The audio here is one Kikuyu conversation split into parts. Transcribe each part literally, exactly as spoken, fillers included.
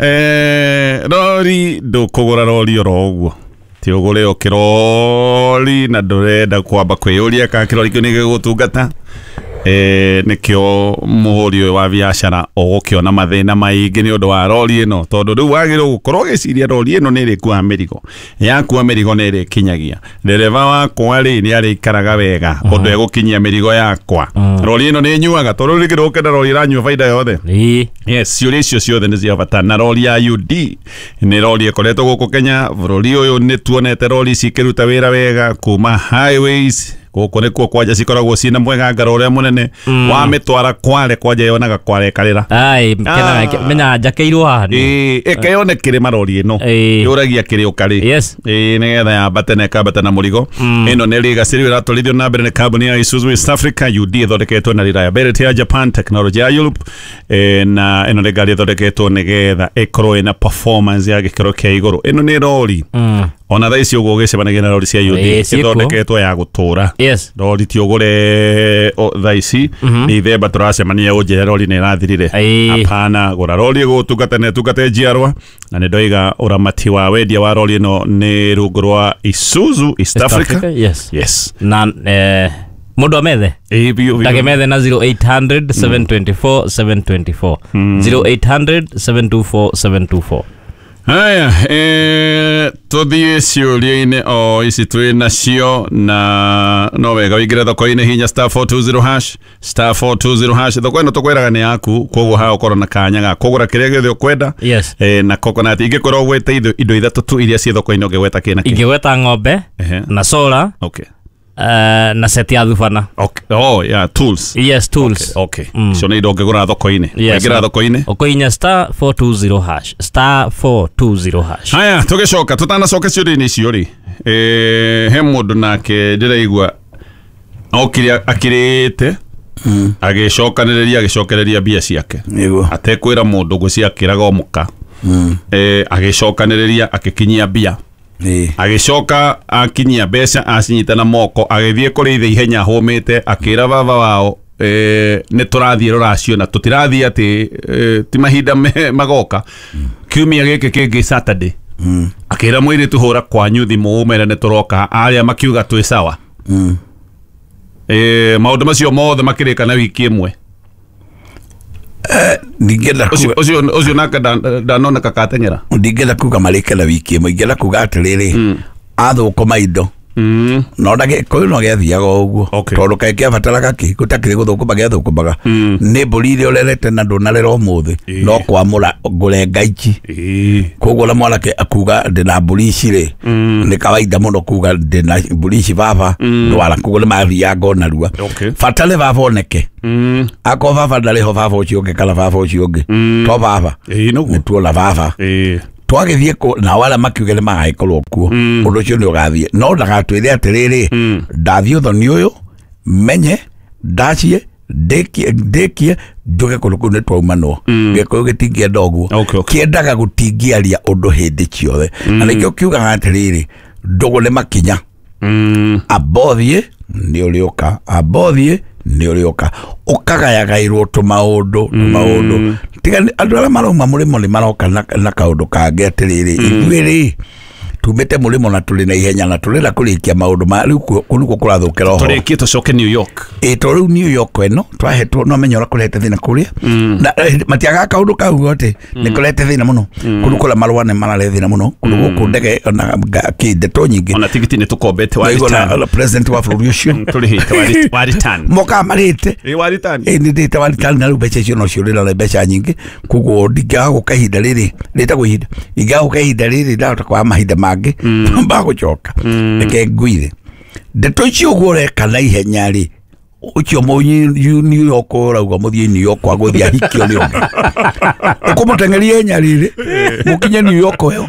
Eh, rori ndũkũgũra rori oro ũguo, ti ũgũre o kĩrori na ndũrenda kwamba kwĩyũria kana kĩrori kĩu nĩ gĩgũgũtungata. Eh, nĩkĩo mũhũri ũyũ wa biacara ũgũkĩona mathĩna maingĩ nĩ ũndũ wa rori ĩno, tondũ rĩu wagĩrĩirwo gũkorwo ũgĩciria rori ĩno nĩ ĩrĩkuaga mĩrigo, yakua mĩrigo nĩ ĩrĩkinyagia ndereba wakwa rĩ nĩ arĩikaraga wega ũndũ egũkinyia mĩrigo yakwa, rori ĩno nĩ ĩnyuaga, tondũ rĩu rĩngĩ ndũgũkenda rori ĩranyua baida yothe. Ĩĩ. Yes, ciũria icio ciothe nĩ cia bata, na rori ya U D nĩ rori ĩkoretwo gũkũ Kenya bũrũri ũyũ, nĩ tuonete rori ici ikĩruta wĩra wega kuma highways gũkũ nĩkuo kwanja cikoragwo ciĩna mwegangaro ũrĩa mũnene, wamĩtwara Kwale kwanja yonaga Kwale ĩkarĩra. Ai, kena menya njakĩirwo haha nĩ. Ĩĩ, ĩkeyone kĩrĩma rori ĩno. Ĩĩ. Yũragia kĩrĩ ũkarĩ. Yes. Ĩĩ, nĩgetha yambate na ĩkambata na mũrigo. Ĩno nĩ legacy rĩu ĩratwarithio na mbere nĩ kambuni ya Isuzu East Africa. U D ĩthondeketwo na reliability ya Japan, technology ya Europe, eh, na ĩno nĩ ngari ĩthondeketwo nĩgetha ĩkorwo ĩna performance ya gĩkĩro kĩa igũrũ. Ĩno nĩ rori. Ona thaa ici ũguo ũgĩcemanagia na rori cia U D, Ĩĩ, ciĩkuo. ĩthondeketwo ya gũtũra. Yes. Rori ti ũgũre o, thaa ici nĩ ithemba tũracemania ũnjĩre rori nĩ ĩrathirire. Ĩĩ. Hapana, gũra rori ĩgũgũtungata na ĩtungate njiarwa, na nĩ ndoiga ũramati wa wendia wa rori ĩno nĩ rungu rwa Isuzu East East Africa. Africa, yes. Yes. Na, eh, mũndũ amethe? Ĩĩ, biũ, biũ. Ndakemethe na zero eight hundred seven twenty four seven twenty four. zero eight hundred seven two four seven two four. Haya, eh, tuthiĩ ciũria-inĩ o ici twĩ nacio, na no wega ũingĩre thoko-inĩ, hinya star four two zero hash, star four two zero hash. Thoko ĩno tũkwĩraga nĩ yaku, koguo haha ũkorwo na kanya ga kũgũra kĩrĩa gĩothe ũkwenda. Yes. Eh, na coconut ingĩkorwo ũgwete indo, indo ithatũ tu iria ciĩ thoko-inĩ ũngĩgweta kĩ na kĩ? Ingĩgweta ng'ombe, Ehe. na solar, Okay. eh, na set ya thubana. Okay. Oh, yeah, tools. Yes, tools. Okay. Icio nĩ indo ũngĩgũra thoko-inĩ. Yes. Waingĩra thoko-inĩ? Ũkũhihinya star four two zero hash, star four two zero hash. Haya, tũgĩcoka tũtanacoka ciũria-inĩ icio rĩ, eh, he mũndũ nake ndĩraigua okire akirĩte, agĩcokanĩrĩria, agĩcokereria mbia ciake. Nĩguo. Atekwĩra mũndũ ngwĩciria akĩraga o mũka. Eh, agĩcokanĩrĩria akĩkinyia mbia. Ĩĩ. Agĩcoka akinyia mbeca acinyita na moko, agĩthiĩ kũrĩ ithe ihenya ahũmĩte, akĩra baba wao, eh, nĩ tũrathiĩ rũracio na tũtirathiĩ atĩ, eh, ti mahinda me-, magoka. Kiumia gĩkĩ kĩngĩ Saturday. Akĩra mũirĩtu hũra kwanyu thimũ ũmere nĩ tũroka, arĩa makiuga twĩ sawa. Eh, maũndũ macio mothe makĩrĩka na wiki ĩmwe. Eh, ndingĩenda Ũcio, kuga- ũcio, ũcio nake nda-, ndanoneka kateng'era. Ndingĩenda kuga marĩke na wiki ĩmwe, ingĩenda kuga atĩrĩrĩ, athũkũma indo. No na Gĩkũyũ no gĩathiaga o ũguo. Okay. Tondũ kaĩ kĩabataraga kĩ, gũtakĩrĩ gũthũkũma gĩathũkũmaga. Nĩ mbũri iria ũrerete na ndũnarera ũmũthĩ, Ĩĩ. no kwamũra ngũrenga ici. Ĩĩ. Koguo na mwanake akuga ndĩna mbũri ici rĩ, nĩ kawaida mũno kuga ndĩna mbũri ici baba, ndwara, koguo nĩ mathiaga o narua. Okay. Bata nĩ baba oneke. Akorwo baba ndarĩ ho, baba ũcio ũngĩ kana baba ũcio ũngĩ. To baba. Ĩĩ, nĩguo. Nĩ tuona baba. Ĩĩ. Twagĩthiĩ kũ, nao arĩa makiuge nĩ magagĩkorwo kuo. Ũndũ ũcio nĩ ũgathiĩ. No ndagatwĩre atĩrĩrĩ, ndathiĩ ũthoni ũyũ, menye, ndacie, ndĩkie, ndĩkie, njuge kũndũ kũu nĩ twaumanwo. Gĩkũyũ gĩtingĩenda ũguo. Okay, okay. Kĩendaga gũtingĩaria ũndũ hĩndĩ ciothe. Na nĩkĩo kiugaga atĩrĩrĩ, ndũgũ nĩ makinya. Amba ũthiĩ, nĩ ũrĩũka. Amba ũthiĩ, nĩ ũrĩũka. Ũkagayagaĩrwo tũmaũndũ, tũmaũndũ. Tiga nĩ, andũ arĩa marauma mũrĩmo nĩ maroka na, na kaũndũ kangĩ atĩrĩrĩ, ithuĩ rĩ, tumĩte mũrĩmo na tũrĩ na ihenya na tũrenda kũrĩkia maũndũ ma rĩu kũ-, kũu nĩkuo kũrathũkĩra ũhoro. Tũrĩkie tũcoke New York. Ĩ, to rĩu New York ĩno twahetwo, no menya ũrĩa kũrehete thĩna kũrĩa. Na, eh, matiagaga kaũndũ kau atĩ nĩ kũrehete thĩna mũno. Kũndũ kũrĩa marũa nĩ mararehe thĩna mũno. Kũndũ gũkũ ndege ona nga-, kĩ, ndeto nyingĩ. Ona tigiti nĩ tũkombete wa Waigua na, return. na president wa bũrũri ũcio. Tũrĩhĩte wa rit-, wa return. Mokaga marĩte. Ĩ, wa return. Ĩ, nĩ ndĩte wa return na rĩu mbeca icio no ciũrĩra na mbeca nyingĩ. Koguo ndingĩaga gũka ihinda rĩrĩ, rĩtagwo ihinda. Ingĩaga gũka ihinda rĩrĩ, ndahota kwaga mahinda mangĩ. Mbagũcoka. Reke ngwire. Ndeto icio ũguo ũreka na ihenya rĩ, ũcio mũnyi-, New York ũrauga mũthiĩ New York agũthiĩ ahikio nĩ ũngĩ. Ũkũmũteng'eria ihenya rĩrĩ, mũkinye New York ĩyo.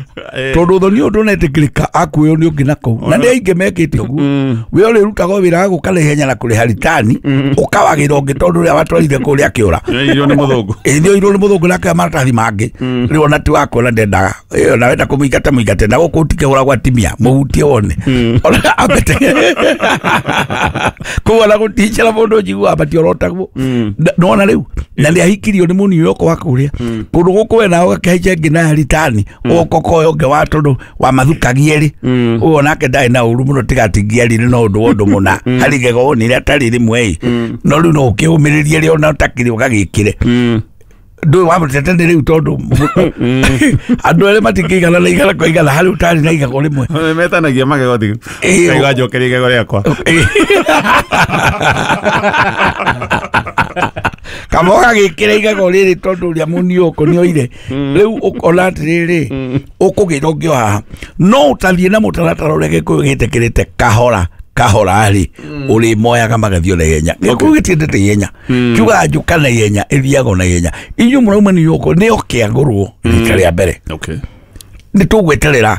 Tondũ ũthoni ũyũ ndũnetĩkĩrĩka akuoywo nĩ ũngĩ na kũu. Na nĩ aingĩ mekĩte ũguo. We ũrĩrutaga wĩra wa gũka na ihenya na kũrĩha ritani, ũkawagĩra ũngĩ tondũ ũrĩa watwarire kũrĩa akĩũra. Nĩ oirwo nĩ mũthũngũ. Ĩ, nĩ oirwo nĩ mũthũngũ na akĩoya maratathi mangĩ. Rĩu ona ti wa kuona ndendaga. Ĩ, ona wenda kũmũingata mũingate, na gũkũ ũtikĩhũragwo atimia, mũhutie wone. Ona ambete. Koguo ona gũtinjĩra Na mũndũ njiguaga matiorotagwo. Nona rĩu na nĩ ahikirio nĩ mũni ũyũ wa kũrĩa kũndũ gũkũ we nawe ũgakĩhaica ĩngĩ na ritani ũgoka ũkoya ũngĩ wa tondũ wamathukagia rĩ ũyũ onake ndarĩ na ũru mũno tiga atingĩarire no ũndũ wa ũndũ mũna harĩ igego wonire atarĩ rĩmwe ĩ no rĩu no ũkĩũmĩrĩrie rĩ ona ũtakĩrĩ ũgagĩkĩre ndũĩ wamũtete nĩ rĩu tondũ andũ erĩ matingĩigana na igana kwa igana harĩ ũtarĩ na igego rĩmwe metanagia magego thi Ĩĩ. njokeria igego rĩakwa kama ũgagĩkĩra igego rĩrĩ tondũ ũrĩa mũniũkũ nĩ oire rĩu ũkona atĩrĩrĩ ũkũgĩra ũngĩ o haha no ũtathiĩ na mũtaratara ũrĩa Gĩkũyũ gĩtĩkĩrĩte kahora kahora rĩ ũrĩmoyaga magathiĩ na ihenya. Gĩkũyũ gĩtiendete ihenya kiugaga njũka na ihenya ĩthiaga na ihenya. Inyuĩ mũrauma New York nĩo kĩagũrwo rita rĩa mbere okay nĩ tũgweterera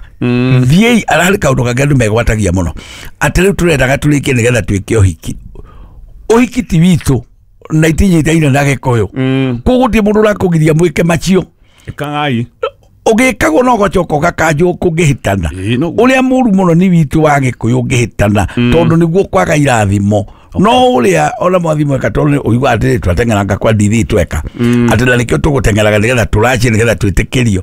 thiĩi ararĩ kaũndũ kangĩ andũ megwatagia mũno atĩ rĩu tũrendaga tũrĩkie nĩgetha twĩke ũhiki. Ũhiki ti witũ na itinyitaine na Gĩkũyũ koguo gũtirĩ mũndũ ũrakũgiria mwĩke macio ĩkagai ũgĩkagwo no ũgacoka ũgakanjwo kũngĩhĩtana. Ĩĩ, noguo. Ũrĩa mũru mũno nĩ witũ wa Gĩkũyũ ũngĩhĩtana tondũ nĩguo kwaga irathimo no ũrĩa ona mwathimo eka tondũ ũiguaga atĩrĩ twateng'eranga kwa ndithi tweka atĩ na nĩkĩo tũgũteng'eraga nĩgetha tũracie nĩgetha twĩtĩkĩrio.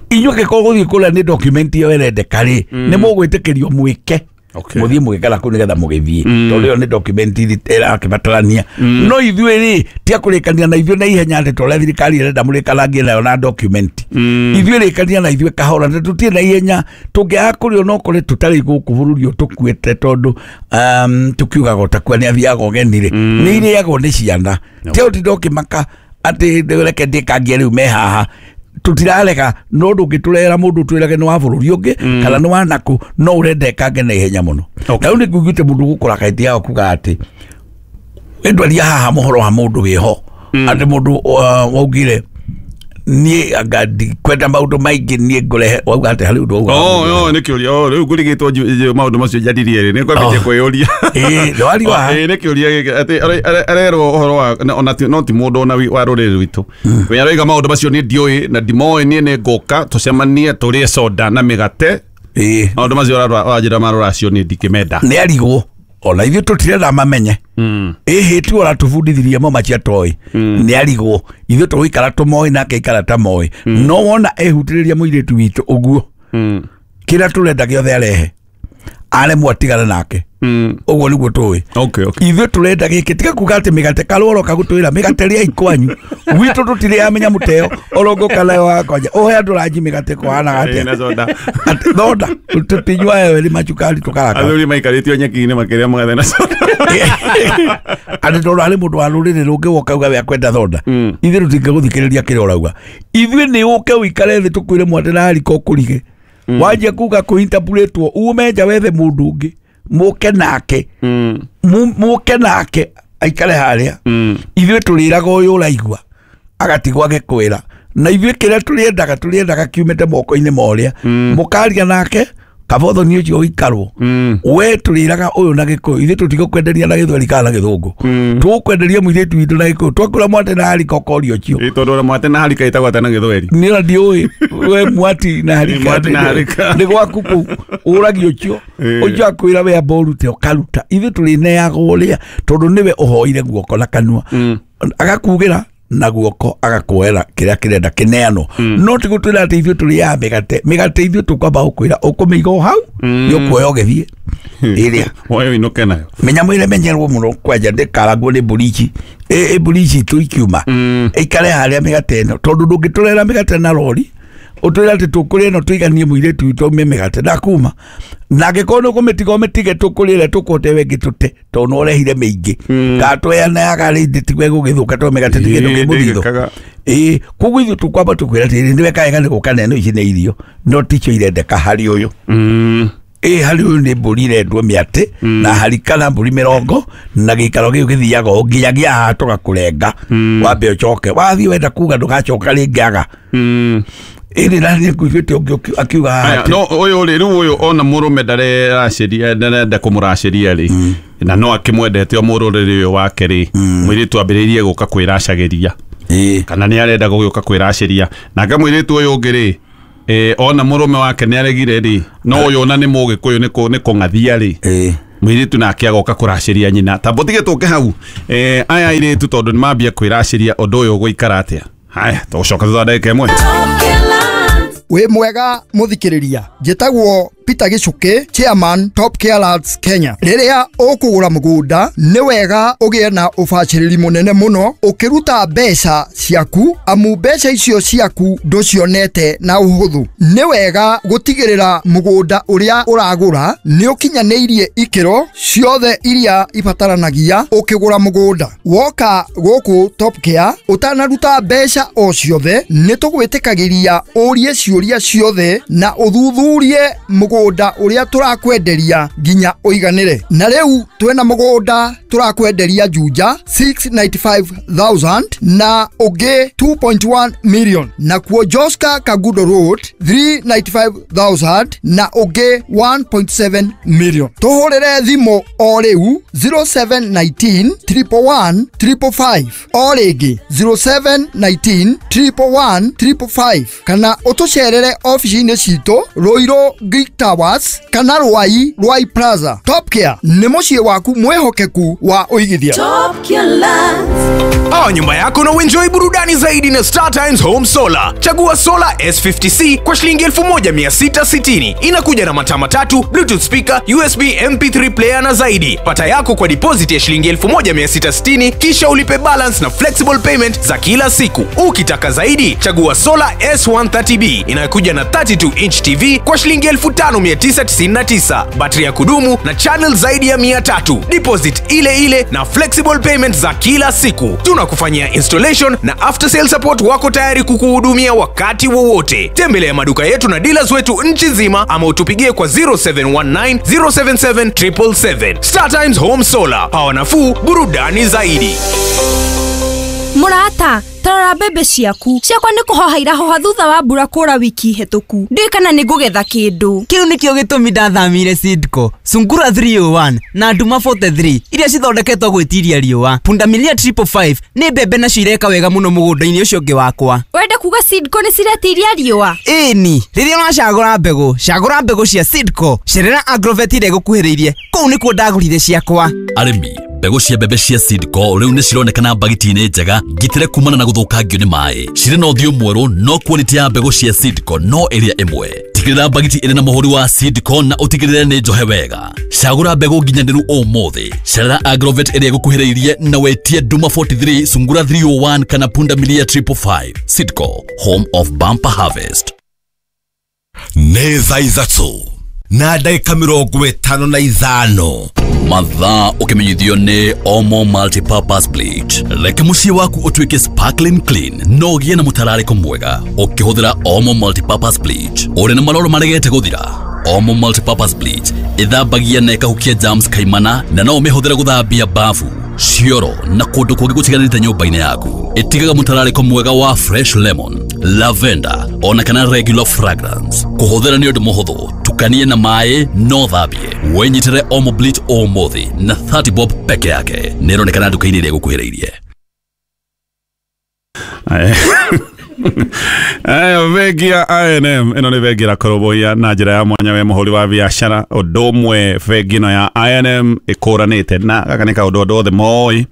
Inyuĩ angĩkorwo gũthiĩ kũrĩa nĩ document ĩyo ĩrendeka rĩ nĩ mũgwĩtĩkĩrio mwĩke Okay. mũthiĩ mũgĩkara kũu nĩgetha mũgĩthiĩ tondũ ĩyo nĩ document ĩrakĩbatarania no ithuĩ rĩ ti akũrĩkania na ithuĩ na ihenya atĩ torĩa thirikari ĩrenda mũrĩkarangie nayo na document. Ithuĩ rĩkania na ithuĩ kahora na tũtirĩ na ihenya tũngĩaga kũrĩo no kũrĩ tũtarĩ gũkũ bũrũri ũyũ tũkuĩte tondũ um, tũkiugaga ũtakua nĩ athiaga ũgeni rĩ nĩ irĩagwo nĩ ciana ti ũtinda ũkĩmaka atĩ reke ndĩkangie rĩu me haha tutirarega no ndũngĩtũrehera mũndũ twĩrage nĩ wa bũrũri ũngĩ kana nĩ wa nakũ no ũrenda ĩkange na ihenya mũno. Okay. Na rĩu nĩ nguigĩte mũndũ gũkora kaĩti yao kuga atĩ ĩndwaria haha mũhoro wa mũndũ wĩho atĩ mũndũ uh, waugire niĩ anga ndikwenda maũndũ maingĩ niĩ ngũrehe wauga atĩ harĩ ũndũ wauga oh oh nĩ kĩũria oh rĩu ngũrigĩtwo maũndũ macio njaririe rĩ nĩ kwambĩtie kwĩyũria ĩĩ ndwari wa ĩĩ nĩ kĩũria gĩkĩ atĩ are- are- arerwo ũhoro wa na- ona ti- no ti mũndũ ona wi- wa rũrĩrĩ rwitũ we aroiga maũndũ macio niĩ ndiũĩ na ndimoĩ niĩ nĩ ngũka tũcemanie tũrĩe soda na mĩgate ĩĩ maũndũ macio ũranjĩra marũracio niĩ ndingĩmenda nĩ arigwo ona ithuĩ tũtirenda mamenye ĩhĩ tu ũratũbundithirie mo macia toĩ nĩ arigwo ithuĩ tũgũikara tũmoĩ nake aikara ta moĩ no wona ehutĩrĩria mũirĩtu witũ ũguo kĩrĩa tũrenda gĩothe arehe aremwo atigane nake ũguo nĩguo tũĩ okay okay ithuĩ tũrenda gĩkĩ tiga kuga atĩ mĩgate karworo kagũtwĩra mĩgate rĩai kwanyu gwitũ tũtirĩaga mĩnyamũ ta ĩyo oro ngũka nayo wakwanja ũhe andũ ranji mĩgate kũhanaga Ĩĩ, na atĩa soda Atĩ thonda tũtinyuaga ĩyo ĩrĩ macukari tũkaraka athuri maikarĩtio nyeki-inĩ makĩrĩa mũgathe na soda atĩ tondũ harĩ mũndũ wa rũrĩrĩ rũngĩ woka uga we akwenda thonda ithuĩ tũtingĩgũthikĩrĩria kĩrĩa ũrauga ithuĩ nĩ ũke ũikare thĩ tũkwĩre mwate na harika ũkũrige wanjia kuga kũintapuretwo ume nja wethe mũndũ ũngĩ mũke nake Mu- mũke nake aikare harĩa ithuĩ tũrĩraga ũyũ ũraigua agatigwo agĩkwĩra na ithuĩ kĩrĩa tũrĩendaga tũrĩendaga kiumĩte moko-inĩ ma ũrĩa mũkaria nake kabothoni ũcio ũikarwo we tũrĩraga ũyũ na Gĩkũyũ ithuĩ tũtigũkwenderia na Gĩthweri kana na Gĩthũngũ tũgũkwenderia mũirĩtu witũ na Gĩkũyũ twakũra mwate na harika ũkoria ũcio Ĩĩ, tondũ ona mwate na harika ĩtagwo atĩa na Gĩthweri nĩ ona ndiũĩ we mwati na harika Mwati na harika. nĩ gwaku kũu ũragia ũcio Ĩĩ. ũcio akwĩra we amba ũrute ũkaruta ithuĩ tũrĩneaga ũrĩa tondũ nĩwe ũhoire guoko na kanua agakugĩra na guoko agakuoera kĩrĩa kĩrenda kĩneanwo no ti gũtwĩra atĩ ithuĩ tũrĩaga mĩgate mĩgate ithuĩ tũkwamba gũkwĩra ũkũmĩiga o hau nĩ ũkuoya ũgĩthiĩ ĩrĩa woe ũinũke nayo mĩnyamũ ĩrĩa menyerwo mũno kwanja ndĩkarangwo nĩ mbũri ici ĩ ĩ mbũri ici itũ ikiuma ĩikare harĩa mĩgate ĩno tondũ ndũngĩtũrehera mĩgate na rori ũtwĩre atĩ tũkũrĩa ĩno tũiganie mũirĩtu witũ aume mĩgate ndakuma na angĩkorwo nĩ ũkũmĩtiga ũmĩtige tũkũrĩre tũkũte we ĩngĩ tũte tondũ nĩ ũrehire mĩingĩ kana tweanayaga rĩngĩ tigwe gũgĩthũka tondũ mĩgate ti kĩndũ Ĩĩ, kĩ mũthithũ ndĩgĩkaga. ĩĩ koguo ithuĩ tũkwamba tũkwĩra atĩrĩrĩ nĩ weka wega nĩ gũka na ĩno ici nĩ irio no ticio irendeka harĩ ũyũ ĩ harĩ ũyũ nĩ mbũri irendwo mĩatĩ na harika na mbũri mĩrongo na gĩikaro gĩu gĩthiaga o nginyagia haha tũgakũrenga wambe ũcoke wathiĩ wenda kuga ndũgacoka rĩngĩ aga ĩrĩ na nĩ nguigĩte ũngĩ ũki- akiuga haha Aya, atĩ- no ũyũ rĩ rĩu ũyũ ona mũrũme ndareracĩria ndarenda kũmũracĩria rĩ na no akĩmwendete o mũrũrĩrĩ ũyũ wake rĩ mũirĩtu ambĩrĩirie gũka kwĩracagĩria ĩĩ kana nĩ arenda gũgĩũka kwĩracĩria nake mũirĩtu ũyũ ũngĩ rĩ eh, ona mũrũme wake nĩ aregire rĩ no ũyũ ona nĩ mũgĩkũyũ nĩ kũ- nĩ kũng'athia rĩ ĩĩ Mũirĩtu nake agoka kũracĩria nyina. Tamba ũtige tũke hau. Eh, aya airĩtu tondũ nĩmambia kwĩracĩria ũndũ ũyũ ũgũikara atĩa. Haya, tũgũcoka thutha wa ndagĩka ĩmwe. Wĩ mwega mũthikĩrĩria, njĩtagwo Peter Gichuki, chairman Top Care Lands Kenya. Rĩrĩa ũkũgũra mũgũnda nĩ wega ũgĩe na ũbacĩrĩri mũnene mũno ũkĩruta mbeca ciaku, amu mbeca icio ciaku ndũcionete na ũhũthũ. Nĩ wega gũtigĩrĩra mũgũnda ũrĩa ũragũra nĩ ũkinyanĩirie ikĩro ciothe iria ibataranagia ũkĩgũra mũgũnda. Woka gũkũ Top Care ũtanaruta mbeca o ciothe, nĩ tũgwĩtĩkagĩria ũrie ciũria ciothe na ũthuthurie mũgũnda ũrĩa tũrakwenderia nginya ũiganĩre. Na rĩu twĩna mũgũnda tũrakwenderia Juja six ninety-five thousand na ũngĩ two point one million, nakuo Joska Kagudo Road three ninety-five thousand na ũngĩ one point seven million. Tũhũrĩre thimũ o rĩu zero seven nineteen triple one triple five, o rĩngĩ zero seven nineteen triple one triple five, kana ũtũcerere ofici-inĩ citũ Ruiru Greek Towers kana Ruai Ruai Plaza. Top Care nĩ mũciĩ waku mwĩhokeku wa ũigithia. Top Care Lands. Pawa nyumba yako na uenjoy burudani zaidi na Star Times Home Solar. Chagua Solar S fifty C kwa shilingi elfu moja mia sita sitini. Inakuja na mataa matatu, Bluetooth speaker, U S B M P three player na zaidi. Pata yako kwa deposit ya shilingi elfu moja mia sita sitini kisha ulipe balance na flexible payment za kila siku. Ukitaka zaidi, chagua Solar S one thirty B inayokuja na thirty-two inch T V kwa shilingi elfu tano mia tisa tisini na tisa. Battery ya kudumu na channel zaidi ya mia tatu. Deposit ile ile na flexible payment za kila siku. Tunakufanyia installation na after sale support, wako tayari kukuhudumia wakati wowote. Tembelea maduka yetu na dealers wetu nchi nzima ama utupigie kwa zero seven one nine zero seven seven triple seven. Star Times Home Solar, power nafuu, burudani zaidi. Murata, tarora mbembe ciaku. Ciakwa nĩ kũhoha irahoha thutha wa mbura kũra wiki hĩtũku. Ndiũĩ kana nĩ ngũgetha kĩndũ. Kĩu nĩkĩo gĩtũmi ndathamire Seedco, Sungura three oh one na Nduma forty-three iria cithondeketwo gwĩtiria riũa. Pundamilia triple five nĩ mbembe nacio ireka wega mũno mũgũnda-inĩ ũcio ũngĩ wakwa. Wenda kuga Seedco nĩ ciretiria riũa? Ĩni, rĩrĩa ũracagũra mbegũ, cagũra mbegũ cia Seedco. Cerera Agrovet ĩrĩa ĩgũkuhĩrĩirie, kũu nĩkuo ndagũrire ciakwa. Arĩmi, mbegũ cia mbembe cia Seedco rĩu nĩ cironekana mbagiti-inĩ njega ngitĩre kumana na gũthũkangio nĩ maĩ. Cirĩ na ũthiũ mwerũ no quality ya mbegũ cia Seedco no ĩrĩa ĩmwe. Tigĩrĩra mbagiti ĩrĩ na mũhũri wa Seedco na ũtigĩrĩre nĩ njohe wega. Cagũra mbegũ nginyanĩru ũmũthĩ. Cerera Agrovet ĩrĩa ĩgũkuhĩrĩirie na wetie Nduma forty-three, Sungura three oh one kana Pundamilia triple five. Seedco, home of bumper harvest. Nĩ thaa ithatũ na ndagĩka mĩrongo ĩtano na ithano. Mathaa ũkĩmenyithio nĩ Omo Multipurpose Bleach. Reke mũciĩ waku ũtuĩke sparkling clean no ũgĩe na mũtararĩko mwega ũkĩhũthĩra Omo Multipurpose Bleach. Ũrĩ na maroro maregete gũthira? Omo Multipurpose Bleach ĩthambagia na ĩkahukia germs kaimana na no ũmĩhũthĩre gũthambia bafu, cioro na kũndũ kũngĩ gũtiganĩte nyũmba-inĩ yaku. Ĩtigaga mũtararĩko mwega wa fresh lemon, lavender ona kana regular fragrance. Kũhũthĩra nĩ ũndũ mũhũthũ, tukanie na maĩ no thambie. Wĩnyitĩre Omo Bleach ũmũthĩ na thirty bob peke yake. Nĩ ĩronekana nduka-inĩ ĩrĩa ĩgũkuhĩrĩirie. Ayo bengi ya I N M ĩno nĩ bengi ĩrakũrũmbũiya na njĩra ya mwanya we mũhũri wa biacara. Ũndũ ũmwe bengi ĩno ya I N M ĩkũranĩte na gaka nĩ kaũndũ andũ othe moĩ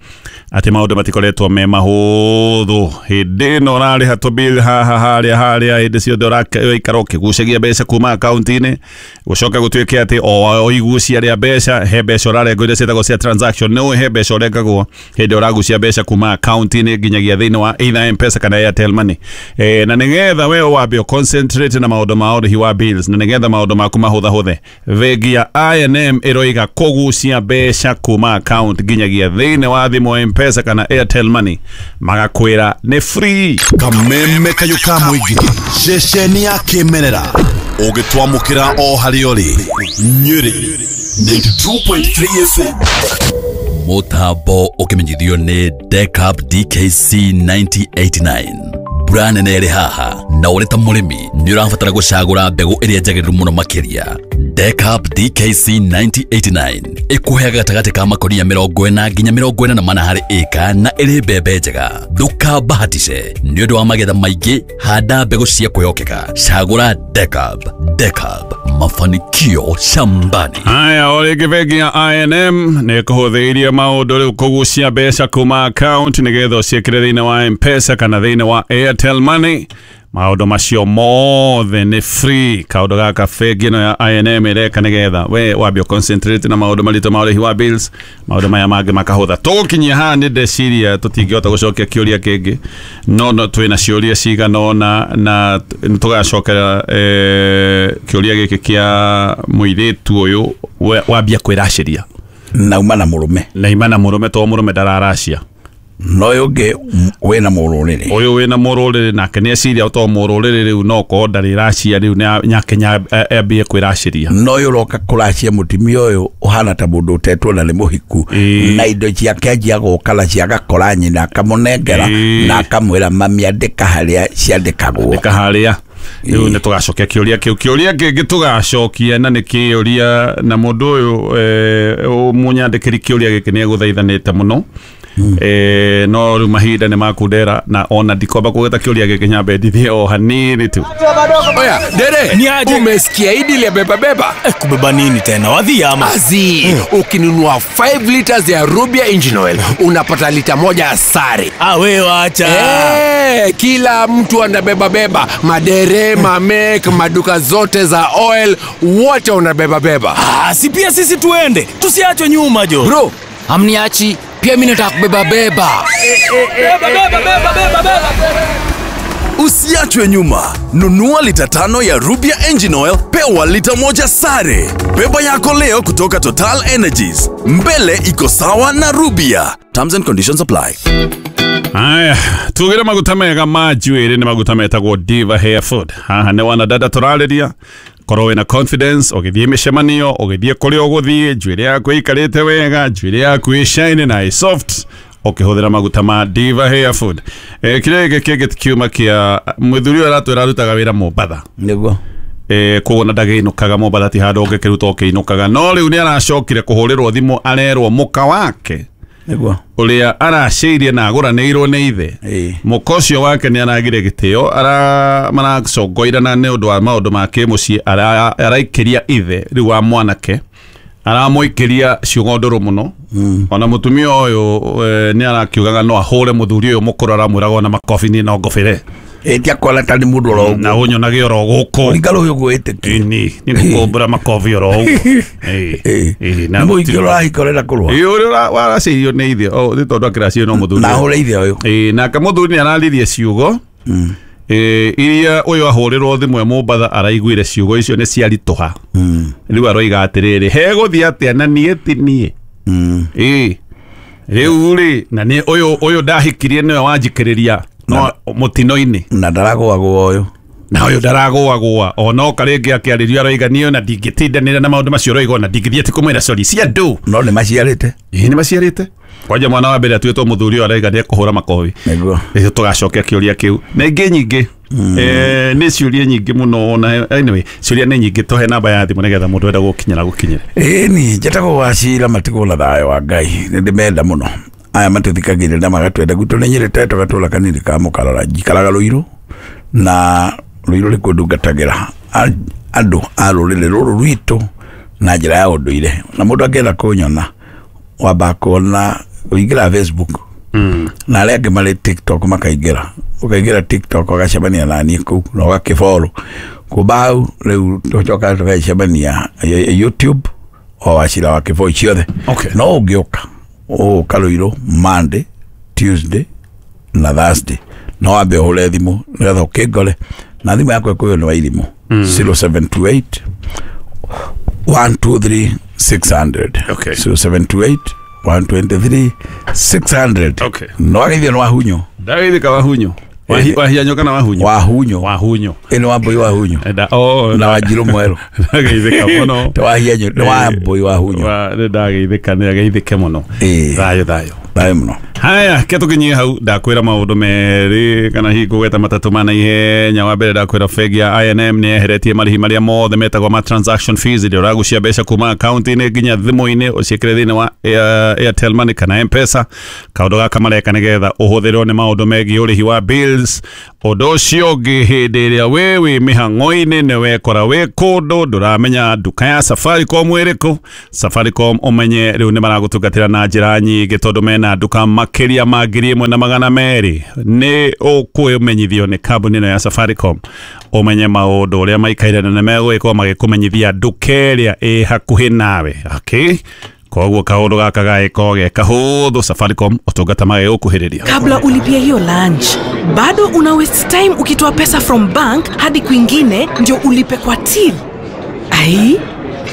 atĩ maũndũ matikoretwo me mahũthũ. Hĩndĩ ĩno ũrarĩha tũbill haha harĩa harĩa, hĩndĩ ciothe ũraikara ũkĩgucagia mbeca kuma akaunti-inĩ, gũcoka gũtuĩke atĩ o ũigucia rĩa mbeca, he mbeca ũrarengwo iria ciĩtagwo cia transaction. Nĩ ũĩ he mbeca ũrengagwo hĩndĩ ũragucia mbeca kuma akaunti-inĩ nginyagia thĩinĩ wa either M-Pesa kana Airtel Money. Eh, na nĩgetha we wambe concentrate na maũndũ ma ũrĩhi wa bills na nĩgetha maũndũ maku mahũthahũthe, bengi ya I N M ĩroiga kũgucia mbeca kuma account nginyagia thĩinĩ wa thimũ M-Pesa kana Airtel Money, magakwĩra nĩ free. Kameme kayũ ka mũingĩ, ceceni ya kĩmerera ũgĩtwamũkĩra o harĩa ũrĩ. Nyĩrĩ ninety-two point three F M. Mũtambo ũkĩmenyithio nĩ Decap D K C ninety eighty-nine. Mbura nene ĩrĩ haha Na ũrĩ ta mũrĩmi nĩ ũrabatara gũcagũra mbegũ ĩrĩa njagĩrĩru mũno makĩria. Decap D K C ninety eighty-nine ĩkũheaga gatagatĩ ka makonia mĩrongo ĩna nginya mĩrongo ĩna na mana harĩ ĩka na ĩrĩ mbembe njega. Ndũkambahatice nĩ ũndũ wa magetha maingĩ, handa mbegũ cia kwĩhokeka. Cagũra Decap. Decap, mafanikio shambani. Haya, o rĩngĩ bengi ya I N M nĩ ĩkũhũthĩirie maũndũ rĩu kũgucia mbeca kuma account nĩgetha ũciĩkĩre thĩinĩ wa M-Pesa kana thĩinĩ wa Airtel Money. Maũndũ macio mothe nĩ free. Kaũndũ gaka bengi ĩno ya I N M ĩreka nĩgetha we wambie concentrate na maũndũ maritũ ma ũrĩhi wa bills, maũndũ maya mangĩ makahũtha. Tũgũkinyia haha nĩ ndeciria tũtingĩhota gũcokia kĩũria kĩngĩ, no no twĩna ciũria cigana ũna na tũgacokera eh, kĩũria gĩkĩ kĩa mũirĩtu ũyũ wambia kwĩracĩria na uma na mũrũme na ima na mũrũme to mũrũme ndararacia no ũyũ ũngĩ wĩna mũrũrĩrĩ ũyũ wĩna mũrũrĩrĩ nake nĩ eciria to mũrũrĩrĩ rĩu no korwo ndarĩracia rĩu nake ambie kwĩracĩria no ũyũ ũroka kũracia mũtumia ũyũ ũhana ta mũndũ ũtetwo na nĩ mũhiku na indo ciake anjia gũka na ciagakora nyina akamũnengera na akamwĩra mami andĩka harĩa ciandĩkagwo andĩka harĩa rĩu nĩ tũgacokia kĩũria kĩu kĩũria kĩngĩ tũgacokia na nĩ kĩũria na mũndũ ũyũ mũnyandĩkĩri kĩũria gĩkĩ nĩ egũthaithanĩte mũno. Mm. Eh, no rĩu mahinda nĩ makundera na ona ndikwamba kũgeta kĩũria gĩkĩ nyambe ndithie o hanini tu. Oya, dere, umesikia hili la beba beba? Eh, kubeba nini tena? Wadhi ama? Azi, mm. Ukinunua five liters ya Rubia Engine Oil, unapata lita moja sare. Ah, wewe acha. Eh, kila mtu anabeba beba, madere, mamek, maduka zote za oil, wote wanabeba beba. Ah, si pia sisi tuende, tusiachwe nyuma jo. Bro, amniachi. Pia mimi nataka kubeba beba. Beba beba beba beba beba. Usiachwe nyuma. Nunua lita tano ya Rubia Engine Oil, pewa lita moja sare. Beba yako leo kutoka Total Energies. Mbele iko sawa na Rubia. Terms and conditions apply. Aya, tugire maguta mega ma njuĩrĩ nĩ maguta metagwo Diva Hair Food. Haha nĩ wana dada tũrarĩria. Korwo wĩna confidence ũgĩthiĩ mĩcemanio ũgĩthiĩ kũrĩa ũgũthiĩ njuĩrĩ yaku ĩikarĩte wega njuĩrĩ yaku ĩ shiny na ĩ soft ũkĩhũthĩra maguta ma Diva Hair Food. Eh, kĩrĩa gĩkĩ kĩngĩ kiuma kĩa mũthuri ũyũ aratwĩra arutaga wĩra Mombatha nĩguo eh koguo na ndagĩinũkaga Mombatha ti handũ ũngĩkĩruta ũkĩinũkaga no rĩu nĩ aracokire kũhũrĩrwo thimũ arerwo mũka wake nĩguo ũrĩa aracĩirie na agũranĩirwo nĩ ithe mũka ũcio wake nĩ aragire gĩtĩo ara maracongoirana nĩ ũndũ wa maũndũ ma kĩmũciĩ araikĩria ithe rĩu wa mwanake aramũikĩria ciugo ndũrũ mũno ona mũtumia ũyũ nĩ arakiugaga no ahũre mũthuri ũyũ mũkũrũ aramwĩraga ona makobi niĩ no ngobĩre ĩtia kwala tani mũndũ oro ũguo na ũnyonage oro gũkũ ũringa rũhiũ gwĩtĩkia ĩni nĩ ngũkũmbũra makobi oro ũguo ĩĩ na mũingĩ ũrahika ũrenda kũrũa ĩĩ ũrĩa waracĩirio nĩ ithe nĩ tondũ akĩracirio no mũthuri na ahũre ithe ũyũ ĩĩ nake mũthuri nĩ araririe ciugo ĩĩ iria ũyũ ahũrĩrwo thimũ e Mombatha araiguire ciugo icio nĩ ciaritũha rĩu aroiga atĩrĩrĩ hegũthiĩ atĩa na niĩ ti niĩ ĩĩ rĩu rĩ na nĩ ũyũ ũyũ ndahikirie nĩwe wanjikĩrĩria no mũtino-inĩ na ndaragũagũa ũyũ na ũyũ ndaragũagũa ona oka rĩngĩ akĩarĩrio aroiga niĩ ona ndingĩtindanĩra na maũndũ macio ũroiga ona ndingĩthiĩ ti kũmwĩra sorry cia andũ no nĩ maciarĩte ĩĩ nĩ maciarĩte kwanja mwana wa mbere atuĩtwo mũthuri ũyũ araiga nĩ ekũhũra makobi nĩguo rĩu tũgacokia kĩũria kĩu na ingĩ nyingĩ eh nĩ ciũria nyingĩ mũno na anyway ciũria nĩ nyingĩ tũhe namba ya thimũ nĩgetha mũndũ enda gũkinyĩra gũkinyĩre ĩĩ ni njĩtagwo Wacira matigwo na thayũ wa Ngai nĩ ndĩmenda mũno aya matũthikagĩrĩria na magatwenda gwitũ nĩ Nyĩrĩ Tetũ gatũra kanini ka Mũkarara njikaraga Rũirũ na Rũirũ nĩkuo ndungatagĩra andũ a rũrĩrĩ rũrũ rwitũ na njĩra ya ũndũire na mũndũ angĩenda kũnyona wambaga kuona ũingĩra Facebook na arĩa angĩ marĩ TikTok makaingĩra ũkaingĩra TikTok ũgacemania na niĩ kũu na ũgakĩfollow kuma hau rĩu tũcokaga tũgacemania YouTube o Wacira wa Kĩboi ciothe no ũngĩũka ũgũka Rũirũ Monday, Tuesday na Thursday no wambe ũhũre thimũ nĩgetha ũkĩngore na thimũ yakwa ĩkũyũ nĩ Wairimũ zero seven two eight one two three six hundred okay zero seven two eight one two three six hundred okay no wageithio nĩ Wahunyo ndageithĩka Wahunyo wahianyo kana Wahunyo Wahunyo Wahunyo ĩno Wambũi Wahunyo na Wanjirũ Mwerũ ndageithĩka mũno ta Wahianyo nĩ Wambũi Wahunyo ndageithĩka nĩ ageithĩke mũno thayũ thayũ. Thayo muno. Haya, ke tukinyie hau ndakwira maundu meri kana hihi ngũgweta matatũ ma naihenya. Wa mbere ndakwira bengi ya I N M nĩ yeheretie marĩhi marĩa mothe metagwo ma transaction fees iria ũragucia mbeca kuma akaunti-inĩ nginya thimũ-inĩ ũciĩkĩre thĩinĩ wa Airtel Money kana M-Pesa. Kaũndũ gaka mareka nĩgetha ũhũthĩrwo nĩ maũndũ megiĩ ũrĩhi wa bills. Ũndũ ũcio ũngĩ, hĩndĩ ĩrĩa wĩ wĩ mĩhang'o-inĩ nĩ wekora wĩ kũndũ ndũramenya nduka ya Safaricom ĩrĩkũ, Safaricom ũmenye rĩu nĩ maragũtungatĩra na njĩra nyingĩ tondũ mena nduka makĩria ma ngiri ĩmwe na magana merĩ. Nĩ ũkũmenyithio nĩ kambuni ĩno ya Safaricom ũmenye maũndũ ũrĩa maikaire na nĩmegũgĩkorwo magĩkũmenyithia nduka ĩrĩa ĩ hakuhĩ nawe. Okay, koguo kaũndũ gaka gagĩkorwo ge kahũthũ, Safaricom ũtungata magĩgũkuhĩrĩria. Kabla ulipia hiyo lunch, bado una waste time ukitoa pesa from bank hadi kwingine ndio ulipe kwa till. Ai,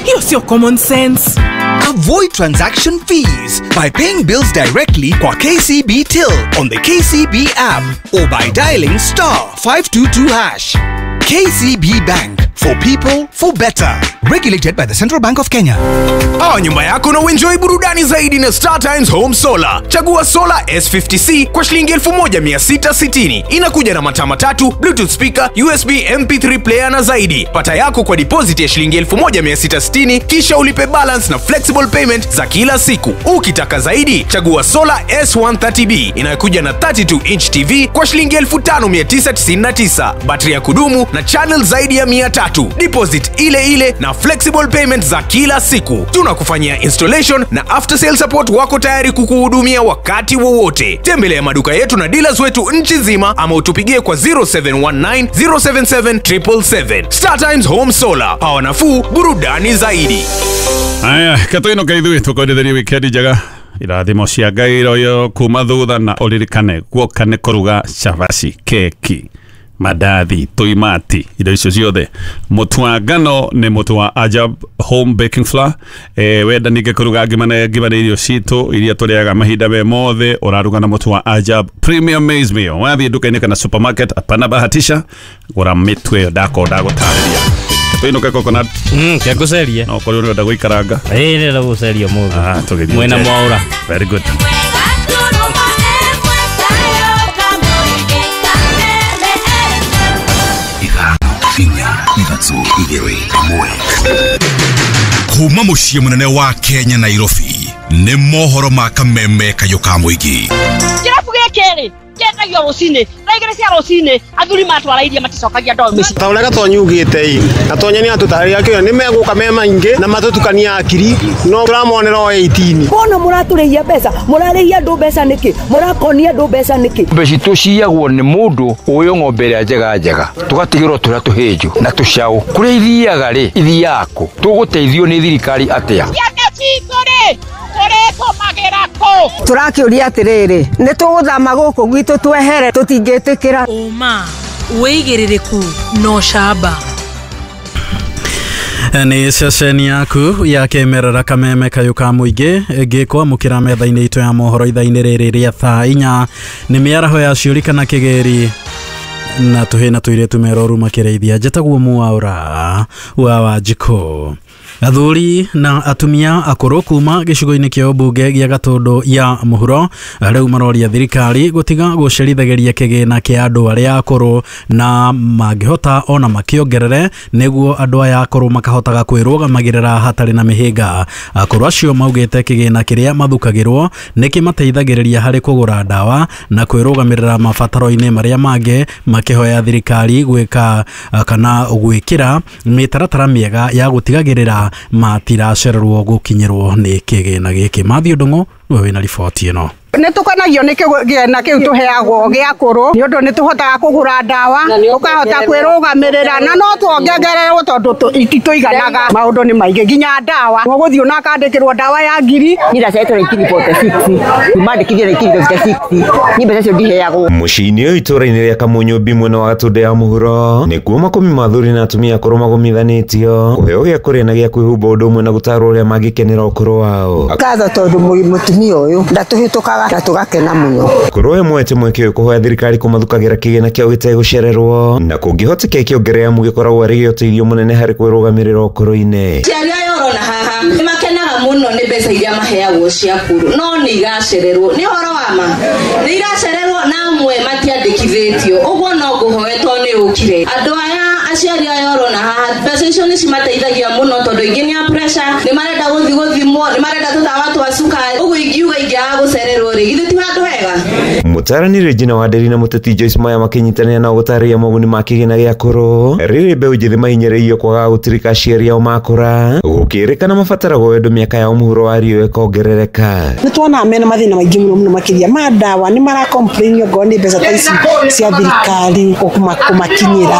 hiyo sio common sense. Avoid transaction fees by paying bills directly kwa K C B Till on the K C B app or by dialing star five two two hash. K C B Bank, for people, for better. Regulated by the Central Bank of Kenya. Pawa nyumba yako na uenjoy burudani zaidi na Star Times Home Solar. Chagua Solar S fifty C kwa shilingi elfu moja mia sita sitini. Inakuja na mataa matatu, Bluetooth speaker, U S B M P three player na zaidi. Pata yako kwa deposit ya shilingi elfu moja mia sita sitini kisha ulipe balance na flexible payment za kila siku. Ukitaka zaidi, chagua Solar S one thirty B inayokuja na thirty two inch T V kwa shilingi elfu tano mia tisa tisini na tisa. Battery ya kudumu na channel zaidi ya mia tatu. Deposit ile ile na flexible payment za kila siku. Tunakufanyia installation na after sale support, wako tayari kukuhudumia wakati wowote. Tembelea maduka yetu na dealers wetu nchi nzima ama utupigie kwa zero seven one nine zero seven seven triple seven. Star Times Home Solar, power nafuu, burudani zaidi. Aya, katuino kaithuĩ tũkwendithĩrie wikendi njega, irathimo cia Ngai iroyo kuma thutha, na ũririkane guoka nĩ kũruga cabaci, keki, mandathi, tuimati, indo icio ciothe. Mũtu wa ngano nĩ mũtu wa Ajab Home Baking Flour. Eh, wenda ningĩ kũruga ngima na ngima nĩ irio citũ iria tũrĩaga mahinda me mothe, ũraruga na mũtu wa Ajab Premium Maize Meal. Wathiĩ nduka-inĩ kana supermarket, hapana bahatisha, gũra mĩtu ĩyo ndakorwo ndagũtarĩria. Tuinuke coconut. Mm, kia guceria. No korwo ũrenda gũikaranga. Ĩĩ ndĩrenda gũceria mũthĩ. Ah, tũgĩthiĩ. Mwena mwaũra. Very good. Kuma muciĩ mũnene wa Kenya Nairobi nĩ mohoro ma kameme kayũ ka mũingĩ. Kĩrabu gĩkĩ rĩ kĩendagio rũcinĩ thaa igĩrĩ cia rũcinĩ athuri matwara iria maticokagia ndoo mĩciĩ. Ta ũrĩa Gatonyi ugĩte ĩ, Gatonyi nĩ atũtarĩria kĩo nĩ megũka me maingĩ na matũtukania akiri no tũramonera o eighteen. Mbona mũratũrĩhia mbeca, mũrarĩhia andũ mbeca nĩkĩ, mũrakonia andũ mbeca nĩkĩ? Mbeca citũ ciyagwo nĩ mũndũ ũyũ ng'ombe ĩrĩa njega njega tũgatigĩrwo tũrĩa tũhĩnju na tũcaũ. Kũrĩa ithiaga rĩ, ithiaga kũ? Tũgũteithio nĩ thirikari atĩa? Ciana citũ rĩ tũrĩtũmagĩra kũ? Tũrakĩũria atĩrĩrĩ, nĩ tũgũthama gũkũ gwitũ twehere, tũtingĩtĩkĩra. Ũma, wĩigĩrĩrĩku no camba. Nĩ ceceni yaku ya kĩmerera kameme kayũ ka mũingĩ ngĩkwamũkĩra metha-inĩ itũ ya mohoro ithaa-inĩ rĩrĩ rĩa thaa inya. Nĩ mĩaraho ya ciũri kana kĩgĩri na tũhĩ na tũirĩtu meroru makĩrĩithia. Njĩtagwo Mwaũra wa Wanjikũ. Athuri na atumia akũrũ kuma gĩcigo-inĩ kĩa ũmbunge gĩa Gatũndũ ya mũhuro rĩu maroria thirikari gũtiga gũcerithagĩria kĩgĩna kĩa andũ arĩa akũrũ na mangĩhota ona makĩongerere nĩguo andũ aya akũrũ makahotaga kwĩrũgamagĩrĩra hatarĩ na mĩhĩnga. Akũrũ acio maugĩte kĩgĩna kĩrĩa mathukagĩrwo nĩ kĩmateithagĩrĩria harĩ kũgũra ndawa na kwĩrũgamĩrĩra mabataro-inĩ marĩa mangĩ, makĩhoya thirikari gwĩka kana gwĩkĩra mĩtaratara mĩega ya gũtigagĩrĩra matiracererwo gũkinyĩrwo nĩ kĩgĩna gĩkĩ. Mathiũ Ndung'u nĩwe wĩna riboti ĩno. Nĩ tũkenagio nĩ kĩgĩna kĩu tũheagwo gĩa kũrũ nĩ ũndũ nĩ tũhotaga kũgũra ndawa, tũkahota kwĩrũgamĩrĩra na no tuongererwo tondũ ititũiganaga. Maũndũ nĩ maingĩ nginya ndawa, ũgũthiĩ na akandĩkĩrwo ndawa ya ngiri. Niĩ ndaciarĩtwo nineteen forty-six, mandĩkithie nineteen fifty-six, niĩ mbeca icio ndiheagwo. Mũciĩ-inĩ ũyũ itũũra-inĩ rĩa Kamunyũmbi mwena wa Gatũndũ ya mũhuro nĩkuo makũmi ma athuri na atumia akũrũ magomithanĩtio kũheo gĩa kũrĩa na gĩa kwĩhumba ũndũ ũmwe na gũtarwo ũrĩa mangĩkenera ũkũrũ wao. Ngatho tondũ mũtumia ũyũ ndatũhĩtũkaga na tũgakena mũno. Akũrũ ĩmwe mweke ũyũ kũhoya thirikari kũmathukagĩra kĩgĩna kĩao gĩtegũcererwo na kũngĩhoteka ĩkĩongerera amu gĩkoragwo arĩ gĩa ũteithio mũnene harĩ kwĩrũgamĩrĩra ũkũrũ-inĩ. Aciari aya ũrona haha nĩ makenaga mũno nĩ mbeca mbeca iria maheagwo cia kuru no nĩ iracererwo nĩ ũhoro wa ma nĩ iracererwo na amwe matiandĩkithĩtio ũguo no ngũhoe to nĩ ũkire andũ aya aciari aya ũrona haha mbeca icio nĩ cimateithagia mũno tondũ ingĩ nĩ a pressure nĩ marenda gũthiĩ gũthimwo nĩ marenda tũtawa twa cukari ũguo ingiuga ingĩaga gũcererwo rĩ githĩ ti handũ hega. Mũtarani Regina Wanderi na mũteti Joyce Maya makĩnyitanĩra na gũtarĩria moguni ma kĩgĩna gĩa kũrũ rĩrĩ mbeũ njĩthĩ mahinyĩrĩirio kwaga gũtirika aciari ao makũra gũkĩrĩkana mabataragwo wendo mĩaka yao mũhuro wa riũa ĩkongerereka. Nĩ tuonaga mena mathĩna maingĩ mũno mũno makĩria ma ndawa nĩ mara complain ongorwo nĩ mbeca ta ici cia thirikari kũmakinyĩra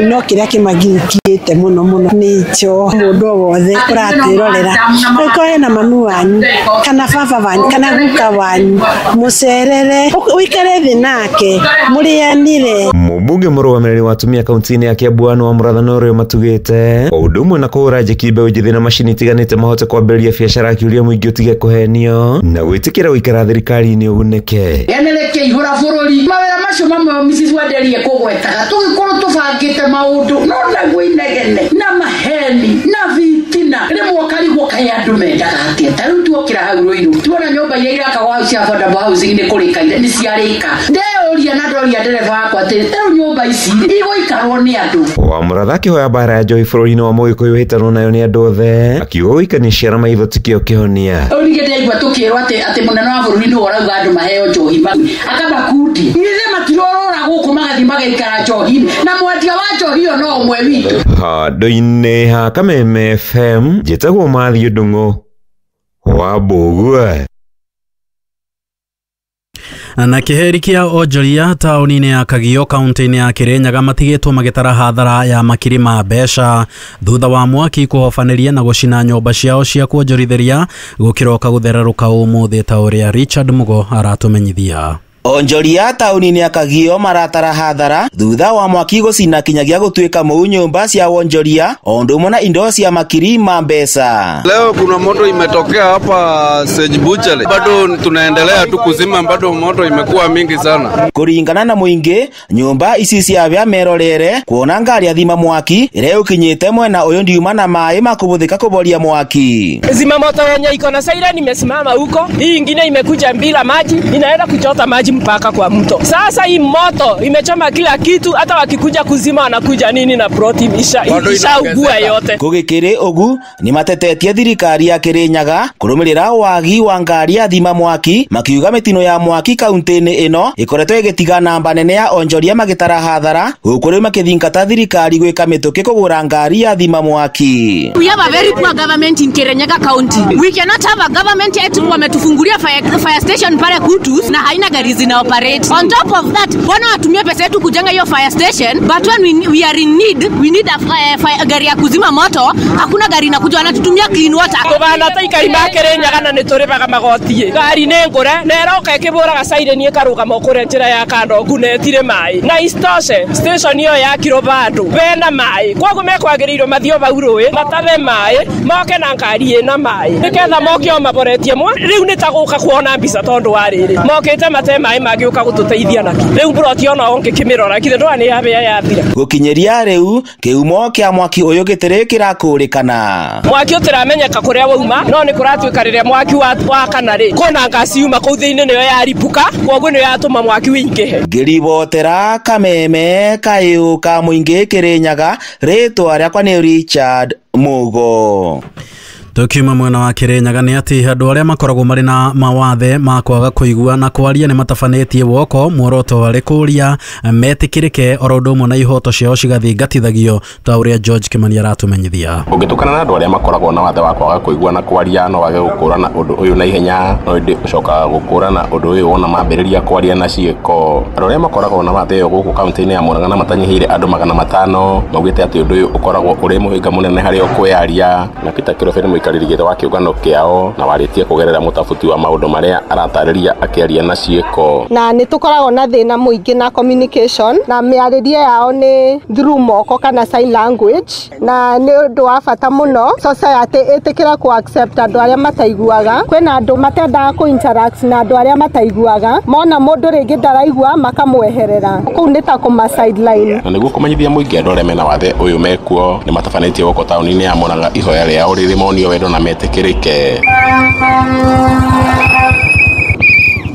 no kĩrĩa kĩmagiũkĩte mũno mũno nĩ njo mũndũ o wothe ũratwĩrorera angĩkorwo hena mami wanyu kana baba wanyu kana guka wanyu mũcerere ũikare thĩ nake mũrĩanĩre. Mũmbunge mũrũgamĩrĩri wa atumia kaunti-inĩ ya Kiambu Anne wa Mũratha ũrĩa matugĩte o ũndũ ũmwe na kũhũra njeki mbeũ njĩthĩ na macini itiganĩte mahote kwambĩrĩria biacara akiuria mũingĩ ũtige kũhenio na gwĩtĩkĩra gũikara thirikari-inĩ ũgunĩke. Eneleke ihũra bũrũri mawĩra macio mamwe Missus Wanderi ekũgwetaga tũgĩkorwo tũbangĩte maũndũ no naguo inegene na maheni na fitina rĩmwe ũkarigwo kaĩ andũ mendaga atĩa. Ta rĩu tuokĩra hau Rũirũ tuona nyũmba iria irakagwo hau cia affordable housing nĩ kũrĩka nĩ ciarĩka ndeyũria na ndoria ndereba wakwa atĩrĩ ta rĩu nyũmba ici igũikarwo nĩ andũ. Wa Mũratha akĩhoya mbara ya njohi bũrũri-inĩ wa Mũgĩkũyũ hĩtanwo nayo nĩ andũ othe akiuga gũikania ciara maitho tikĩo kĩhonia. Rĩu ningĩ ndĩraigua tũkĩrwo atĩ atĩ mũnene wa bũrũri nĩwe ũrauga andũ maheo njohi akamakundi ithe matirorora gũkũ magathiĩ magaikara njohi-inĩ na mwendia wa njohi ĩyo no ũmwe witũ. Handũ-inĩ ha Kameme F M njĩtagwo Mathiũ Ndung'u wa Mbũgua. Na kĩheri kĩa onjoria taũni-inĩ ya Kagio kaunti-inĩ ya Kirinyaga matigĩtwo magĩtara hathara ya makiri ma mbeca thutha wa mwaki kũhobanĩria na gũcina nyũmba ciao cia kuonjorithĩria gũkĩroka gũthererũka ũmũthĩ ta ũrĩa Richard Mugo aratũmenyithia. Onjoria taũni-inĩ ya Kagio maratara hathara thutha wa mwaki gũcina kinyagia gũtuĩka mũu nyũmba cia wonjoria o ũndũ ũmwe na indo cia makiri ma mbeca. Leo kuna moto imetokea hapa Sage Butchery, bado tunaendelea tu kuzima, bado moto imekuwa mingi sana. Kũringana na mũingĩ nyũmba ici ciavya merorere kuona ngari athima mwaki ĩrĩa ũkinyĩte mwena ũyũ ndiuma na maĩ makũbũthĩka kũboria mwaki. Zima moto yenye iko na siren imesimama huko, hii ingine imekuja bila maji inaenda kuchota maji mpaka kwa mto. Sasa hii moto imechoma kila kitu, hata wakikuja kuzima wanakuja nini na protein isha ishaugua yote. Gũgĩkĩrĩ ũgu nĩ matetetie thirikari ya Kirinyaga kũrũmĩrĩra wagi wa ngari ya thima mwaki makiuga mĩtino ya mwaki kaunti-inĩ ĩno ĩkoretwo ĩgĩtiga namba nene ya onjoria magĩtara hathara gũkũ rĩu makĩthingata thirikari gwĩka mĩtũkĩ kũgũra ngari ya thima mwaki. We have a very poor government in Kirinyaga County. We cannot have a government eti wametufungulia fire, fire station pale Kutus na haina gari zina operate. On top of that, wana watumia pesa yetu kujenga hiyo fire station, but when we, we are in need, we need a fire, fire, gari ya kuzima moto, hakuna gari inakuja, wanatutumia clean water. Tubana ta ikari ma Kirinyaga na nĩtũrĩhaga magoti. Ngari nĩ ngũre na ĩroka ĩkĩbũraga siren ĩkarũgama kũrĩa njĩra ya Kandongu na ĩtirĩ maĩ. Na isitoshe station ĩyo yakirwo bandũ bena maĩ, koguo mekwagĩrĩirwo mathiĩ vau rũĩ matave maĩ moke na ngari ĩna maĩ nĩgetha moke o maboretie mwa. Rĩu nĩ ta gũka kuona mbica tondũ wa rĩrĩ mokĩte mate maĩ mangĩũka gũtũteithia naki. Rĩu mburoti ona ũngĩkĩmĩrora githĩ ndũra nĩ yabĩa yathira. Gũkinyĩria rĩu kĩhumo kĩa mwaki ũyũ gĩtirĩ kĩrakũrĩkana. Mwaki ũtĩramenyeka kũrĩa wauma no nĩ kũratuĩka rĩrĩa mwaki wakana rĩ kũna ngasi yuma kũu thĩinĩ nĩyo yaribũka koguo nĩyo yatũma mwaki wĩingĩhe. Ngĩribotera Kameme kayũ ka mũingĩ Kirinyaga, rĩtwa rĩakwa nĩ Richard Mugo. Tukiuma mwena wa Kirinyaga nĩ atĩ andũ arĩa makoragwo marĩ na mawathe ma kwaga kũigua na kwaria nĩ matabanĩtie woko muoroto warĩ kũria metĩkĩrĩke oro ũndũ ũmwe na ihoto ciao cigathingatithagio ta ũrĩa George Kimani aratũmenyithia. Ũngĩtukana na andũ arĩa makoragwo na wathe wa kwaga kũigua na kwaria no wage gũkũrana ũndũ ũyũ na ihenya, no ĩndĩ ũcokaga gũkũrana ũndũ ũyũ wona mambĩrĩria kwaria na ciĩko. Andũ arĩa makoragwo na wathe ũyũ gũkũ kaunti-inĩ ya Murang'a na matanyihĩire andũ magana matano maugĩte atĩ ũndũ ũyũ ũkoragwo ũrĩ mũhĩnga mũnene harĩ o kwĩyaria. Na Peter Kĩrobe nĩ mũikarĩri gĩtĩ wa kĩũngano kĩao na warĩtie kũgerera mũtabuti wa maũndũ marĩa aratarĩria akĩaria na ciĩko. Na nĩ tũkoragwo na thĩna mũingĩ na communication na mĩarĩrie yao nĩ through moko kana sign language, na nĩ ũndũ wa bata mũno society ĩtĩkĩra ku accept andũ arĩa mataiguaga. Kwĩna andũ matendaga kũ interact na andũ arĩa mataiguaga, mona mũndũ rĩngĩ ndaraigua makamweherera, kũu nĩ ta kũma sideline. Na nĩguo kũmenyithia mũingĩ andũ arĩa mena wathe ũyũ mekuo nĩ matabanĩtie gũkũ taũni-inĩ ya Murang'a ihoya rĩao rĩrĩ monio kwendwo na metĩkĩrĩke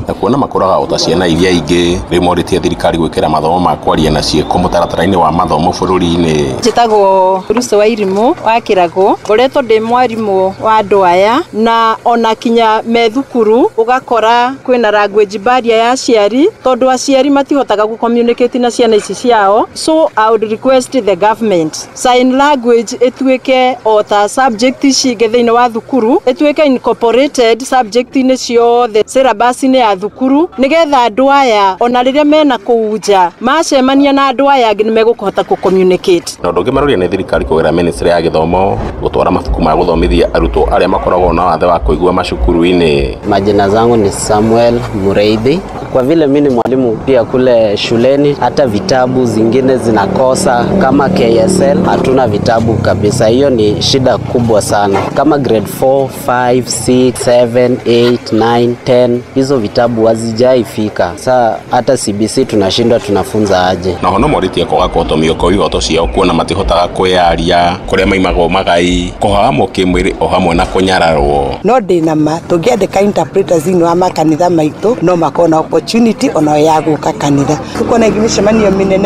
na kuona makũraga o ta ciana iria ingĩ. Rĩu morĩtie thirikari gwĩkĩra mathomo ma kwaria na ciĩko mũtaratara-inĩ wa mathomo bũrũri-inĩ. Njĩtagwo Ruth wa Irimũ wa Kĩragũ, ngoretwo ndĩ mwarimũ wa andũ aya, na ona kinya me thukuru ũgakora kwĩna language barrier ya aciari, tondũ aciari matihotaga gũ communicate na ciana ici ciao. So I would request the government sign language ĩtuĩke o ta subject ici ingĩ thĩinĩ wa thukuru, ĩtuĩke incorporated subject-inĩ ciothe syllabus-inĩ ya thukuru, nigetha andũ aya ona rĩrĩa mena kũu nja macemania na andũ aya angĩ nĩmegũkũhota kũ communicate. Na ũndũ ũngĩ maroria nĩ thirikari kũgerera ministry ya gĩthomo gũtwara mabuku ma gũthomithia arutwo arĩa makoragwo na wathe wa kũigua macukuru-inĩ. Majina zangu ni Samuel Mureithi. Kwa vile mimi ni mwalimu pia kule shuleni, hata vitabu zingine zinakosa kama K S L hatuna vitabu kabisa. Hiyo ni shida kubwa sana. Kama grade four, five, six, seven, eight, nine, ten hizo vitabu hazijaifika. Sasa hata C B C tunashindwa tunafunza aje. Na hono morĩtie kwaga kũhotomio kwa ihoto ciao kuona matihotaga kwĩyaria kũrĩa maimagwo magai kũhahamwo kĩmwĩrĩ o hamwe na kũnyararwo. No ndĩna ma tũngĩandĩka interpreters thĩinĩ wa makanitha maitũ no makorwo na opportunity ona ya gũka kanitha. Tukuona mĩcemanio mĩnene.